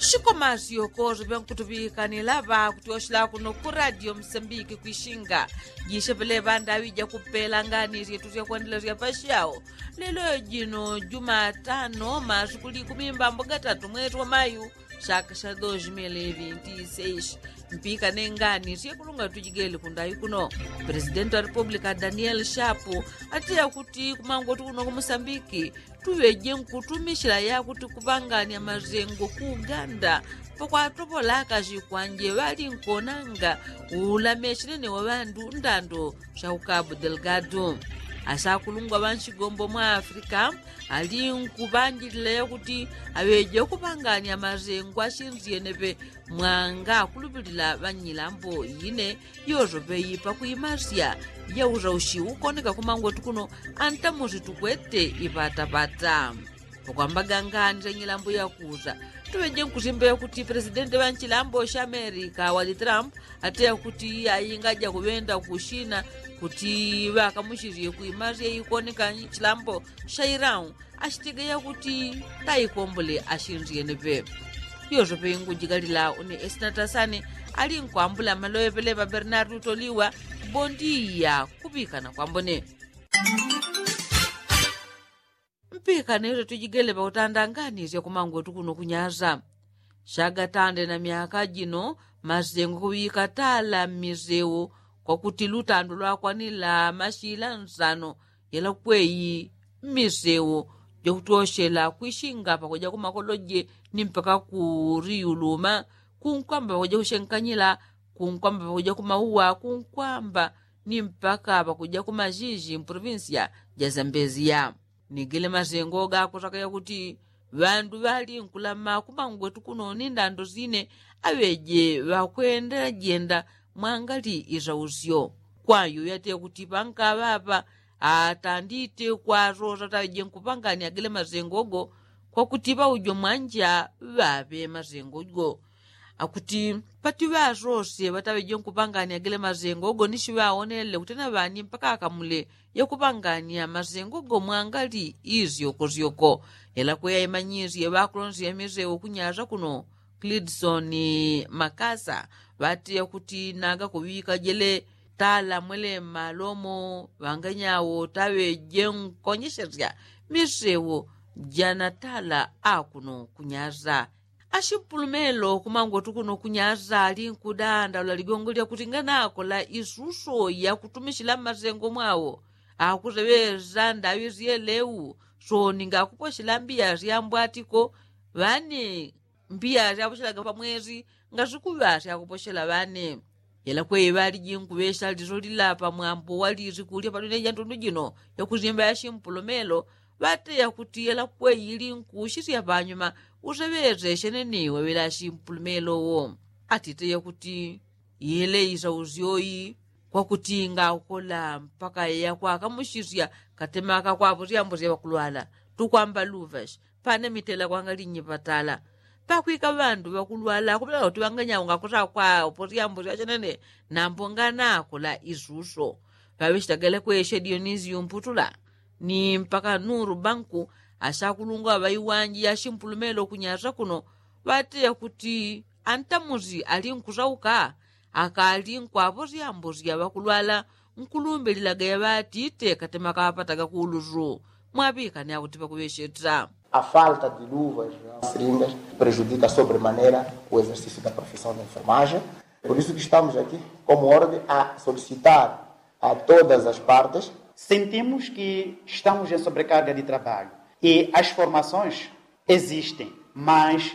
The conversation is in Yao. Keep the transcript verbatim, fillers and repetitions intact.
Shikomasyoko sipyankutuŵikanila ŵakutyoshela kuno ku radio msambiki kwishinga. Jisheŵele ŵandaŵi jakupela ngani syetu syakwandilasya pasyawo. Lelo jino jumatano masiku likumi mbambo gatatu mwesi wa mayu, shaka sha dos mil vinti seis. Mpikane ngani syekulunga tujigele kundaŵi kuno. Presidenti wa republika daniel shapu ateya kuti kumangoti kuno ku musambiki tuŵeje nkutumishila yakuti kupanganya mazengo ku uganda. Pakwatopola akazi kwanje ŵali nkonanga ulameshenene wa ŵandu ndando sha ukabu delgado. Asakulungwa ŵanshigombo mwa afrika ali nkuŵanjilila yakuti aŵeje kupanganya mazengo ashinzyeneŵe mwanga akulupilila ŵanyilambo ine yosoŵeyi pakwimasya yausaushi ukoneka kumangoti kuno. Antamusi tukwete iŵataŵata pakwambaga ngani sha nyilambo yakusa tuŵeje nkusimba yakuti presidenti ŵa nchilambo sha amerika wali trump ateya kuti ayi ngaja kuŵenda kushina kuti ŵakamusisye kwimasya ikoneka nchilambo sha irau. Ashitegeya kuti taikombole ashinzyeneŵe. Yosoŵe ingujigalila une esinatasane ali nkwambula maloŵeŵele ŵa bernardu toliwa. Bondiya kuŵikana kwambone. Mpikane yote tujigele ŵakutandanganisya kumangwetu kuno kunyasa. Shagatande na myaka jino masengo kuŵika tala mmiseu kwakuti lutando lwakwanila mashila nsano yela kweyi mmiseu jakutyoshela kwishinga pakuja kumakoloje ni mpaka kuriuluma kunkwamba pakuja kushenkanyila kunkwamba pakuja kumauwa kunkwamba ni mpaka pakuja kumashishi mprovinsya ja zambezia. Nigele masengo gakusaka yakuti ŵandu ŵali nkulama kumangwetu kuno ni ndando sine aŵeje ŵakwenda jenda mwangali isausyo. Kwayo yateye kuti pankaŵapa atandite kwasosa taŵeje nkupangani agele masengo go kwakuti ŵaujo mwanja ŵaŵe masengo go. Akuti pati ŵasose ŵataŵeje nkupangani agele masengo go ni shiŵawonele kuti na ŵani mpaka akamule yakupangania masengo go mwangali isyokosyoko. Yela kweya imanyisye ŵakulonsya miseu kunyasa kuno klidson makasa ŵateya kuti naga kuŵika jele tala mwele mmalomo ŵanganyawo taŵeje nkonyeshesya miseu jana tala akuno kunyasa. Ashimpulumelo kumangwetu kuno kunyasa ali nkudanda ula ligongo lyakuti nganakola isuso yakutumishila mmasengo mwawo akuseŵesa ndaŵi syeleu. Soni ngakuposhela mbiya syambwatiko ŵane mbiya syaposhelaga pamwesi ngasikuŵa syakuposhela ŵane. Yela kweyi ŵaliji nkuŵesha liso lila pamwambo wa lisiku lya padunia ja ntundu jino yakusimba yashimpulumelo ŵateya kuti yela kweyi ili nkusisya panyuma useŵeseshene ni weŵela shimpulumelo wo. Atite yakuti yele isausyoyi kwakuti ngakola mpaka yakwakamusisya katema kakwapo syambo sya ŵakulwala tukwamba luvashi. Pane mitela kwanga linyi ŵatala pakwika ŵandu ŵakulwala kupela kuti ŵanganyawo ngakusa kwawo posyambo syachenene. Nambo nganakola isuso ŵaŵechitagala kweshe dionisiyo mputula ni mpaka nuru banku. Asakulungwa ŵaiwanji yashimpulumelo kunyasa kuno ŵateya kuti antamusi ali nkusauka akali nkwapo syambo sya ŵakulwala nkulumbililaga yaŵatite katema kawapataga kuulusu. Mwaŵikane akuti pakuŵesheta. A falta de luvas na seringas prejudika sobre manera o exercício da profissão de enfermagem. Por isso que estamos aqui como ordem a solicitar a todas as partes. Sentimos que estamos em sobrecarga de trabalho e as formações existem, mas